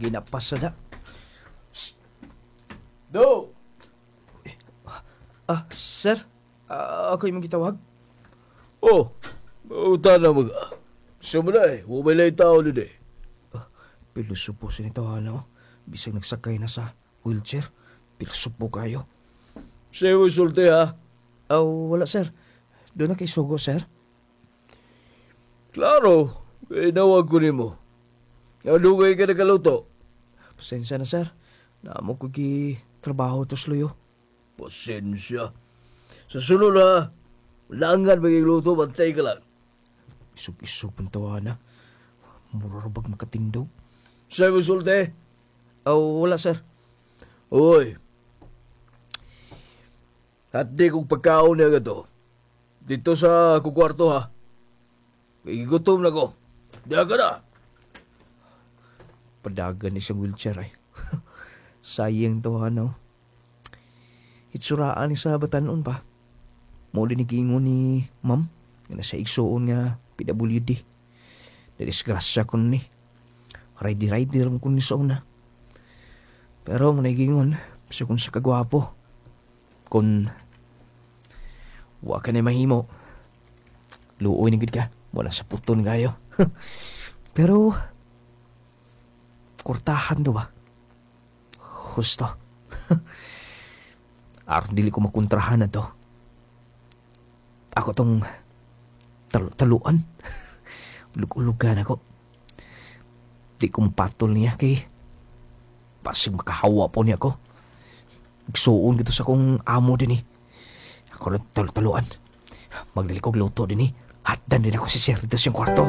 Ginapas na. Do! Ah, sir? Ah, ako imong gitawag? Oh, uta na mga. Sa mo na eh, wala tao din eh. Pilusupo si nito, ano? Bisag nagsakay na sa wheelchair. Pilusupo kayo. Sa'yo mo sulti ha? Oh, wala, sir. Doon na kay sugo, sir. Klaro, eh, nawag ko nimo. Adugay ka nakaluto. Pasensya na, sir. Naamo ko gi trabaho to sluyo. Pasensya. Sa sunod ha, langan maging luto, bantay ka lang. Isog-isog pang tawa na. Mura ra bag makatindog. Sa'yo mo sulti? Oh, wala, sir. Uy. At di kong pagkaon niya gato. Dito sa akong kwarto ha. Igutom na ko. Diya ka na. Padagan ni siyang wheelchair ay. Sayang to, ano. Itsuraan ni sa batanon pa. Mo din ni giingon ni ma'am nga nasa igsuon nga PWD. Nadisgrasya ko ni. Rider-rider mo kun ni sa una. Pero mo nagiingon, sa kung sa kagwapo. Kung wa ka na mahimo, luoy na gid ka. Wala sa puton kayo. Pero kurtahan do ba? Husto. Aron dili ko makontrahan na to. Ako tong taluan. Ulug-ulugan ako. Di ko mapatol niya kay basig makahawa po niya ako. Igsuon gito sa akong amo din eh. Ako lang talu-taluan. Magdali kog luto din eh. Hatdan din ako si sir dito sa iyang kwarto.